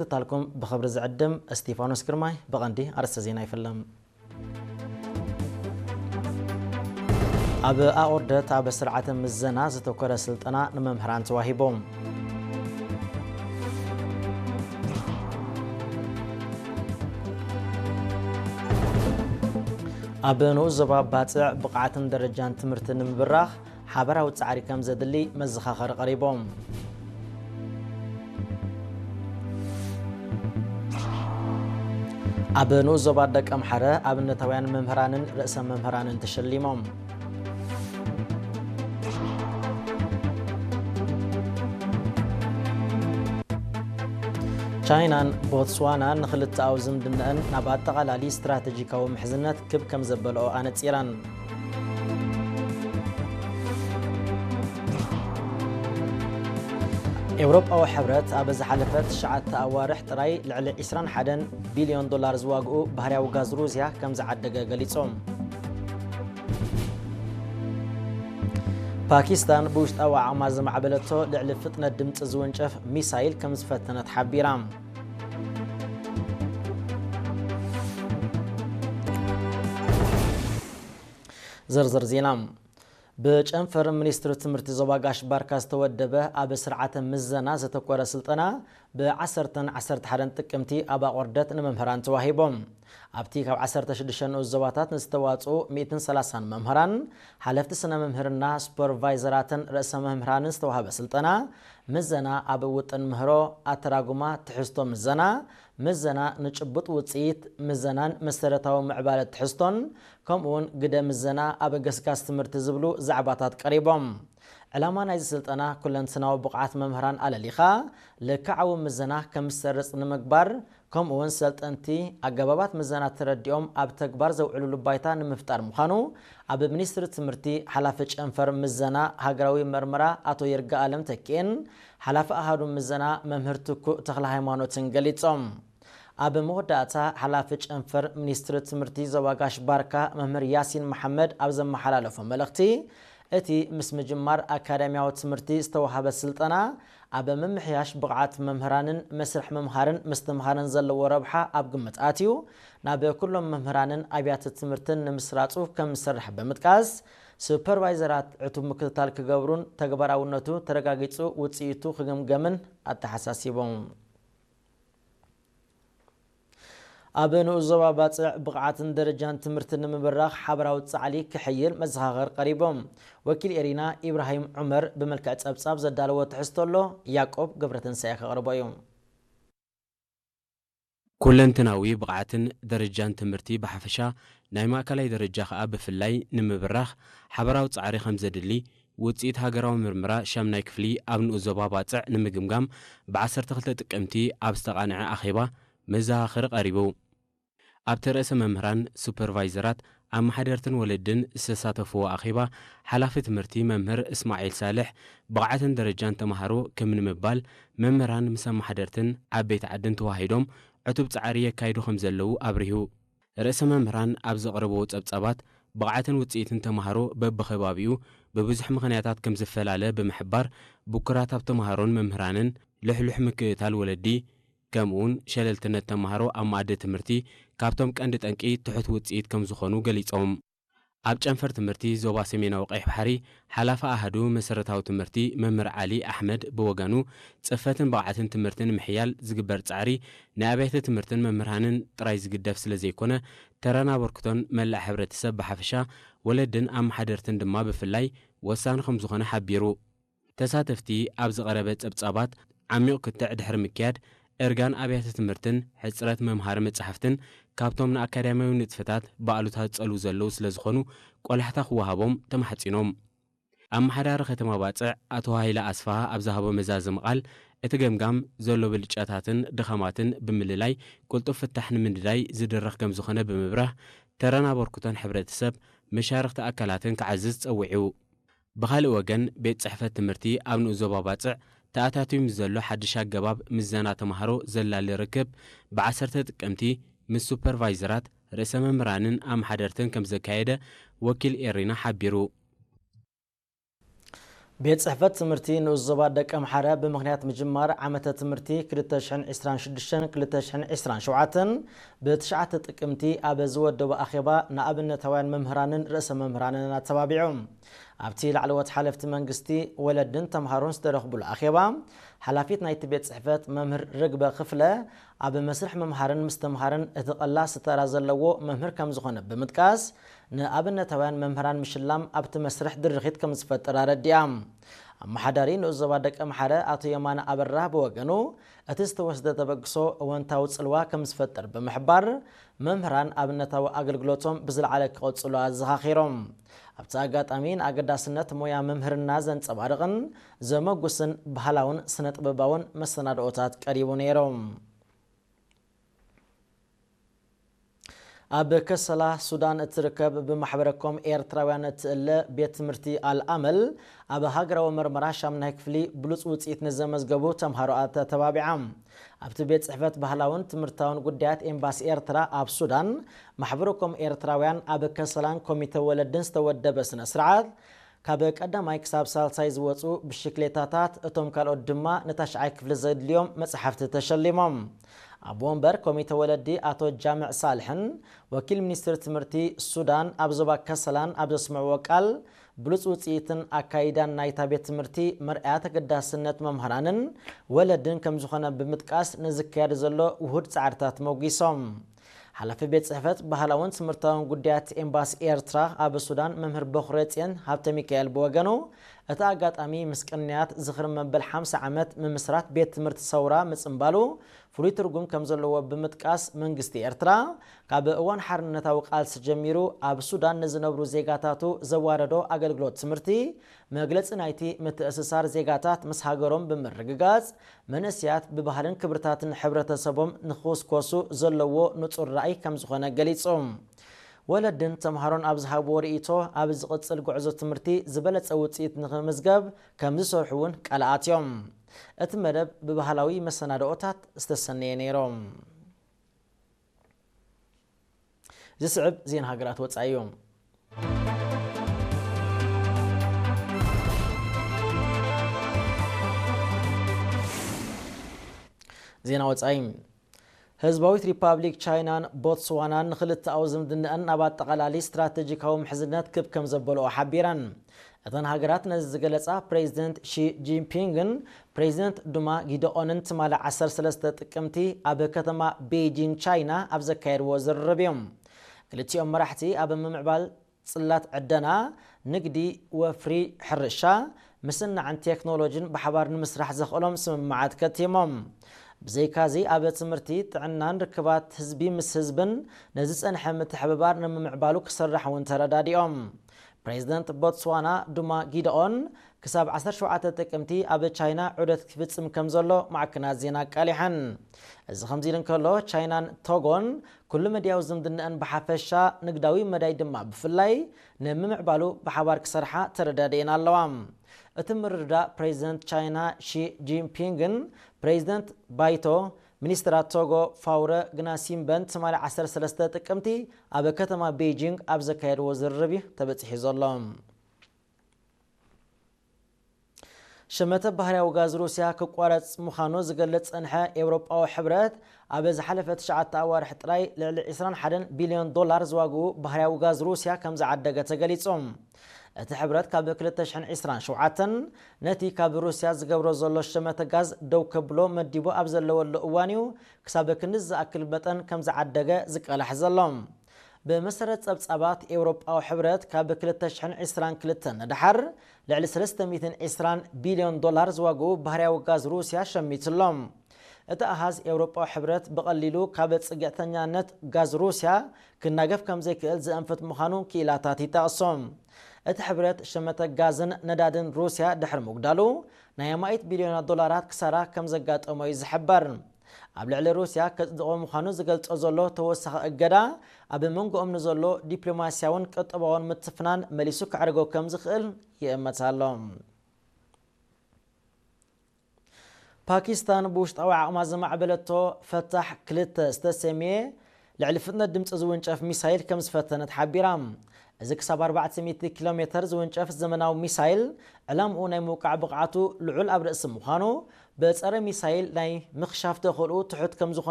ምክትታልኩም ብኽብሪ ዝዕድም እስቲፋኖስ ግርማይ። ብቐንዲ ኣርእስተ ዜና ይፍለም። ኣብ ኣቑርደት ኣብ ስርዓተ ምዘና ዘተኮረ ስልጠና ንመምህራን ተዋሂቦም። ኣብ ንኡስ ዞባ ባጽዕ ብቕዓትን ደረጃን ትምህርቲ ንምብራኽ ሓበራዊ ጻዕሪ ከም ዘድሊ መዘኻኸሪ ቀሪቦም። ኣብ ንኡስ ዞባ ደቀምሓረ ኣብነታውያን መምህራንን ርእሰ መምህራንን ተሸሊሞም። ቻይናን ቦትስዋናን ንክልተኣዊ ዝምድናኣን ናብ ኣጠቓላሊ ስትራተጂካዊ ምሕዝነት ክብ ከም ዘበልኦ ኣነጺረን። ኤውሮጳዊ ሕብረት ኣብ ዝሓለፈ ትሽዓተ ኣዋርሕ ጥራይ ልዕሊ ዕስራን ሓደን ቢልዮን ዶላር ዝዋግኡ ባህርያዊ ጋዝ ሩስያ ከም ዝዓደገ ገሊጹ። ፓኪስታን ብውሽጣዊ ዓቕማ ዘማዕበለቶ ልዕሊ ፍጥነት ድምጺ ዝውንጨፍ ሚሳይል ከም ዝፈተነት ሓቢራ። ዝርዝር ዜና። ብጨንፈር ሚኒስትሪ ትምህርቲ ዞባ ጋሽ ባርካ ዝተወደበ ኣብ ስርዓተ ምዘና ዘተኮረ ስልጠና ብዓሰርተን ዓሰርተ ሓደን ጥቅምቲ ኣብ ኣቑርደት ንመምህራን ተዋሂቦም። ኣብቲ ካብ ዓሰርተ ሽዱሽተ ንኡስ ዞባታት ንዝተዋጽኡ ሚእትን ሰላሳን መምህራን፣ ሓለፍቲ ስነ መምህርና፣ ሱፐርቫይዘራትን ርእሰ መምህራንን ዝተዋህበ ስልጠና፣ ምዘና ኣብ ውጥን ምህሮ፣ ኣተራጉማ፣ ትሕዝቶ ምዘና፣ ምዘና ንጭቡጥ ውጽኢት ምዘናን መሰረታዊ ምዕባለ ትሕዝቶን፣ ከምኡውን ግደ ምዘና ኣብ ገስጋስ ትምህርቲ ዝብሉ ዛዕባታት ቀሪቦም። ዕላማ ናይዚ ስልጠና ኩለንትናዊ ብቕዓት መምህራን ኣለሊኻ ልክዓዊ ምዘና ከም ዝሰርጽ ንምግባር፣ ከምኡውን ሰልጠንቲ ኣገባባት ምዘና ተረዲኦም ኣብ ተግባር ዘውዕሉሉ ባይታ ንምፍጣር ምዃኑ ኣብ ሚኒስትሪ ትምህርቲ ሓላፊ ጨንፈር ምዘና ሃገራዊ መርመራ ኣቶ ይርጋኣለም ተኪኤን ሓላፊ ኣሃዱ ምዘና መምህር ትኩእ ተኽለ ሃይማኖትን ገሊጾም። ኣብ መወዳእታ ሓላፊ ጨንፈር ሚኒስትሪ ትምህርቲ ዞባ ጋሽ ባርካ መምህር ያሲን መሓመድ ኣብ ዘመሓላለፎ መልእኽቲ፣ እቲ ምስ ምጅማር ኣካዳሚያዊ ትምህርቲ ዝተዋህበ ስልጠና ኣብ ምምሕያሽ ብቕዓት መምህራንን መስርሕ ምምሃርን ምስትምሃርን ዘለዎ ረብሓ ኣብ ግምት ኣትዩ፣ ናብ ኩሎም መምህራንን ኣብያተ ትምህርትን ንምስራጹ ከም ዝሰርሕ ብምጥቃስ፣ ሱፐርቫይዘራት ዕቱብ ምክትታል ክገብሩን ተግባራውነቱ ተረጋጊጹ ውጽኢቱ ክግምገምን ኣተሓሳሲቦም። ኣብ ንኡስ ዞባ ባጽዕ ብቕዓትን ደረጃን ትምህርቲ ንምብራኽ ሓበራዊ ጻዕሊ ክሕይል መዘኻኸር ቀሪቦም። ወኪል ኤሪና ኢብራሂም ዑመር ብመልክዕ ጸብጻብ ዘዳለዎ ትሕዝቶ ኣሎ፣ ያዕቆብ ገብረትንሳኤ ከቕርቦ እዩ። ኩለንትናዊ ብቕዓትን ደረጃን ትምህርቲ ብሓፈሻ፣ ናይ ማእከላይ ደረጃ ከኣ ብፍላይ ንምብራኽ ሓበራዊ ጻዕሪ ከም ዘድሊ ውጽኢት ሃገራዊ ምርምራ ሻምናይ ክፍሊ ኣብ ንኡስ ዞባ ባጽዕ ንምግምጋም ብ ዓሰርተ ክልተ ጥቅምቲ ኣብ ዝተቓንዐ ኣኼባ መዘኻኸሪ ቀሪቡ። ኣብቲ ርእሰ መምህራን፣ ሱፐርቫይዘራት፣ ኣመሓደርትን ወለድን ዝተሳተፍዎ ኣኼባ፣ ሓላፊ ትምህርቲ መምህር እስማዒል ሳልሕ፣ ብቕዓትን ደረጃን ተማሃሮ ክብ ንምባል መምህራን ምስ ኣመሓደርትን ዓበይቲ ዓድን ተዋሂዶም ዕቱብ ጻዕሪ የካይዱ ከም ዘለዉ ኣብሪሁ። ርእሰ መምህራን ኣብ ዘቕረብዎ ጸብጻባት፣ ብቕዓትን ውጽኢትን ተማሃሮ በብኸባቢኡ ብብዙሕ ምኽንያታት ከም ዝፈላለ ብምሕባር፣ ብኩራት ኣብ ተማሃሮን መምህራንን፣ ልሕሉሕ ምክእታል ወለዲ፣ ከምኡውን ሸለልትነት ተማሃሮ ኣብ መኣዲ ትምህርቲ ካብቶም ቀንዲ ጠንቂ ትሑት ውጽኢት ከም ዝኾኑ ገሊጾም። ኣብ ጨንፈር ትምህርቲ ዞባ ሰሜናዊ ቀይሕ ባሕሪ ሓላፊ ኣሃዱ መሰረታዊ ትምህርቲ መምህር ዓሊ ኣሕመድ ብወገኑ፣ ጽፈትን ብቕዓትን ትምህርቲ ንምሕያል ዝግበር ጻዕሪ ንኣብያተ ትምህርትን መምህራንን ጥራይ ዝግደፍ ስለ ዘይኮነ፣ ተራን ኣበርክቶን መላእ ሕብረተሰብ ብሓፈሻ፣ ወለድን ኣመሓደርትን ድማ ብፍላይ ወሳኒ ከም ዝኾነ ሓቢሩ። ተሳተፍቲ ኣብ ዝቐረበ ጸብጻባት ዓሚቕ ክትዕ ድሕሪ ምክያድ፣ እርጋን ኣብያተ ትምህርትን ሕጽረት መምሃሪ መጻሕፍትን ካብቶም ንኣካዳሚያዊ ንጥፈታት ብኣሉታ ዝጸልዉ ዘለዉ ስለ ዝኾኑ፣ ቆላሕታ ክወሃቦም ተማሕጺኖም። ኣመሓዳሪ ከተማ ባጽዕ ኣቶ ሃይለ ኣስፍሃ ኣብ ዝሃቦ መዛዘሚ ቃል፣ እቲ ገምጋም ዘሎ ብልጫታትን ድኻማትን ብምልላይ፣ ቅልጡፍ ፍታሕ ንምንዳይ ዝድረኽ ከም ዝኾነ ብምብራህ፣ ተራን ኣበርክቶን ሕብረተሰብ፣ መሻርኽቲ ኣካላትን ክዓዝዝ ጸዊዑ። ብኻልእ ወገን፣ ቤት ጽሕፈት ትምህርቲ ኣብ ንኡስ ዞባ ባጽዕ ተኣታትዩ ምስ ዘሎ ሓድሽ ኣገባብ ምዘና ተማሃሮ ዘላሊ ርክብ፣ ብ ዓሰርተ ጥቅምቲ ምስ ሱፐርቫይዘራት፣ ርእሰ መምህራንን ኣመሓደርትን ከም ዘካየደ ወኪል ኤሪና ሓቢሩ። ቤት ጽሕፈት ትምህርቲ ንኡስ ዞባ ደቀምሓረ ብምኽንያት ምጅማር ዓመተ ትምህርቲ ክልተ ሽሕን ዕስራን ሽዱሽተን ክልተ ሽሕን ዕስራን ሸውዓተን ብትሽዓተ ጥቅምቲ ኣብ ዝወደቦ ኣኼባ ንኣብነታውያን መምህራንን ርእሰ መምህራንን ኣተባቢዑ። ኣብቲ ላዕለዎት ሓለፍቲ መንግስቲ፣ ወለድን ተምሃሮን ዝተረኽቡሉ ኣኼባ፣ ሓላፊት ናይቲ ቤት ጽሕፈት መምህር ርግበ ክፍለ፣ ኣብ መስርሕ ምምሃርን ምስትምሃርን እቲ ቀላሲ ተራ ዘለዎ መምህር ከም ዝኾነ ብምጥቃስ፣ ንኣብነታውያን መምህራን ምሽላም ኣብቲ መስርሕ ድርኺት ከም ዝፈጥር ኣረዲኣ። ኣመሓዳሪ ንኡስ ዞባ ደቀምሓረ ኣቶ የማነ ኣበራ ብወገኑ፣ እቲ ዝተወስደ ተበግሶ እወንታዊ ጽልዋ ከም ዝፈጥር ብምሕባር፣ መምህራን ኣብነታዊ ኣገልግሎቶም ብዝለዓለ ክቐጽሉ ኣዘኻኺሮም። ኣብቲ ኣጋጣሚ ንኣገዳስነት ሞያ መምህርና ዘንጸባርቕን ዘመጉስን ባህላውን ስነ ጥበባውን መሰናድኦታት ቀሪቡ ነይሩ። ኣብ ከሰላ ሱዳን እትርከብ ብማሕበረኮም ኤርትራውያን እትእለ ቤት ትምህርቲ ኣልኣመል፣ ኣብ ሃገራዊ መርመራ ሻምናይ ክፍሊ ብሉጽ ውጽኢት ንዘመዝገቡ ተምሃሮ ኣተተባቢዓ። ኣብቲ ቤት ጽሕፈት ባህላውን ትምህርታውን ጉዳያት ኤምባሲ ኤርትራ ኣብ ሱዳን፣ ማሕበረኮም ኤርትራውያን ኣብ ከሰላን ኮሚተ ወለድን ዝተወደበ ስነ ስርዓት፣ ካብ ቀዳማይ ክሳብ ሳልሳይ ዝወጹ ብሽክሌታታት፣ እቶም ካልኦት ድማ ንታሽዓይ ክፍሊ ዘድልዮም መጽሓፍቲ ተሸሊሞም። ኣቦ ወንበር ኮሚተ ወለዲ ኣቶ ጃምዕ ሳልሕን ወኪል ሚኒስትሪ ትምህርቲ ሱዳን ኣብ ዞባ ከሰላን ኣብ ዘስምዕዎ ቃል፣ ብሉጽ ውጽኢትን ኣካይዳን ናይታ ቤት ትምህርቲ መርኣያ ተገዳስነት መምህራንን ወለድን ከም ዝኾነ ብምጥቃስ፣ ንዝካየድ ዘሎ ውሁድ ጻዕርታት መጒሶም። ሓላፊ ቤት ጽሕፈት ባህላውን ትምህርታውን ጉዳያት ኤምባሲ ኤርትራ ኣብ ሱዳን መምህር በኹረጽዮን ሃብተ ሚካኤል ብወገኑ፣ እቲ ኣጋጣሚ ምስ ቅንያት ዝኽሪ መበል ሓምሳ ዓመት ምምስራት ቤት ትምህርቲ ሰውራ ምጽንባሉ ፍሉይ ትርጉም ከም ዘለዎ ብምጥቃስ፣ መንግስቲ ኤርትራ ካብ እዋን ሓርነታዊ ቃልሲ ጀሚሩ ኣብ ሱዳን ንዝነብሩ ዜጋታቱ ዘዋረዶ ኣገልግሎት ትምህርቲ መግለጺ ናይቲ ምትእስሳር ዜጋታት ምስ ሃገሮም ብምርግጋጽ፣ መንእሰያት ብባህልን ክብርታትን ሕብረተሰቦም ንኽውስኮሱ ዘለዎ ንጹር ራእይ ከም ዝኾነ ገሊጹ። ወለድን ተምሃሮን ኣብ ዝሃብዎ ርእይቶ፣ ኣብ ዝቕጽል ጉዕዞ ትምህርቲ ዝበለጸ ውጽኢት ንኽምዝገብ ከም ዝሰርሑ እውን ቃል ኣትዮም። እቲ መደብ ብባህላዊ መሰናድኦታት ዝተሰነየ ነይሩ። ዝስዕብ ዜና ሃገራት ወጻኢ እዩ። ዜና ወጻኢ። ህዝባዊት ሪፓብሊክ ቻይናን ቦትስዋናን ንክልተኣዊ ዝምድናኣን ናብ ኣጠቓላሊ ስትራተጂካዊ ምሕዝነት ክብ ከም ዘበልኦ ሓቢረን። እተን ሃገራት ነዚ ዝገለጻ ፕሬዚደንት ሺ ጂንፒንግን ፕሬዚደንት ዱማ ጊደኦንን ትማሊ ዓሰርተ ሰለስተ ጥቅምቲ ኣብ ከተማ ቤጂንግ ቻይና ኣብ ዘካየድዎ ዝርርብ እዮም። ክልቲኦም መራሕቲ ኣብ ምምዕባል ጽላት ዕደና፣ ንግዲ፣ ወፍሪ፣ ሕርሻ፣ ምስናዕን ቴክኖሎጂን ብሓባር ንምስራሕ ዘኽእሎም ስምምዓት ከቲሞም። ብዘይካዚ ኣብ ትምህርቲ፣ ጥዕናን ርክባት ህዝቢ ምስ ህዝብን ነዚ ጸንሐ ምትሕብባር ንምምዕባሉ ክስራሕ እውን ተረዳዲኦም። ፕሬዚደንት ቦትስዋና ዱማ ጊደኦን ክሳብ ዓሰርተ ሸውዓተ ጥቅምቲ ኣብ ቻይና ዑደት ክፍጽም ከም ዘሎ ማዕከናት ዜና ኣቃሊሐን። እዚ ከምዚ ኢሉ እንከሎ፣ ቻይናን ቶጎን ኩሉ መድያዊ ዝምድናኣን ብሓፈሻ፣ ንግዳዊ መዳይ ድማ ብፍላይ ንምምዕባሉ ብሓባር ክሰርሓ ተረዳዲኤን ኣለዋ። እቲ ምርድዳእ ፕሬዚደንት ቻይና ሺ ጂንፒንግን ፕሬዚደንት ባይቶ ሚኒስትራት ቶጎ ፋውረ ግናሲምበን ትማሊ ዓሰርተ ሰለስተ ጥቅምቲ ኣብ ከተማ ቤጂንግ ኣብ ዘካየድዎ ዝርርብ እዩ ተበጺሑ ዘሎ። ሸመተ ባህርያዊ ጋዝ ሩስያ ክቋረጽ ምዃኑ ዝገልጽ ጸንሐ ኤውሮጳዊ ሕብረት፣ ኣብ ዝሓለፈ ትሽዓተ ኣዋርሕ ጥራይ ልዕሊ ዕስራን ሓደን ቢልዮን ዶላር ዝዋግኡ ባህርያዊ ጋዝ ሩስያ ከም ዝዓደገ ተገሊጹ። እቲ ሕብረት ካብ ክልተ ሽሕን ዕስራን ሸውዓተን ነቲ ካብ ሩስያ ዝገብሮ ዘሎ ሸመተ ጋዝ ደው ከብሎ መዲቡ ኣብ ዘለወሉ እዋን እዩ ክሳብ ክንዲ ዝኣክል መጠን ከም ዝዓደገ ዝቃላሕ ዘሎ። ብመሰረት ጸብጻባት ኤውሮጳዊ ሕብረት፣ ካብ ክልተ ሽሕን ዕስራን ክልተን ንደሓር ልዕሊ ሰለስተ ሚእትን ዕስራን ቢልዮን ዶላር ዝዋግኡ ባህርያዊ ጋዝ ሩስያ ሸሚቱ ኣሎ። እቲ ኣሃዝ ኤውሮጳዊ ሕብረት ብቐሊሉ ካብ ጽግዕተኛነት ጋዝ ሩስያ ክናገፍ ከም ዘይክእል ዘእንፍት ምዃኑ ክኢላታት ይጠቕሱ። እቲ ሕብረት ሸመተ ጋዝን ነዳድን ሩስያ ድሕሪ ምጉዳሉ ናይ ኣማኢት ቢልዮናት ዶላራት ክሳራ ከም ዘጋጠሞ እዩ ዝሕበር። ኣብ ልዕሊ ሩስያ ከጽድቖ ምዃኑ ዝገልጾ ዘሎ ተወሳኺ እገዳ፣ ኣብ መንጎኦም ንዘሎ ዲፕሎማስያውን ቁጠባውን ምትፍናን መሊሱ ከዕርጎ ከም ዝኽእል ይእመት ኣሎ። ፓኪስታን ብውሽጣዊ ዓቕማ ዘማዕበለቶ ፈታሕ ክልተ ዝተሰምየ ልዕሊ ፍጥነት ድምጺ ዝውንጨፍ ሚሳይል ከም ዝፈተነት ሓቢራ። እዚ ክሳብ ኣርባዕተ ሚእቲ ኪሎ ሜተር ዝውንጨፍ ዘመናዊ ሚሳይል ዕላምኡ ናይ ምውቃዕ ብቕዓቱ ልዑል ኣብ ርእሲ ምዃኑ፣ ብጸረ ሚሳይል ናይ ምኽሻፍ ተኽእልኡ ትሑት ከም ዝኾነ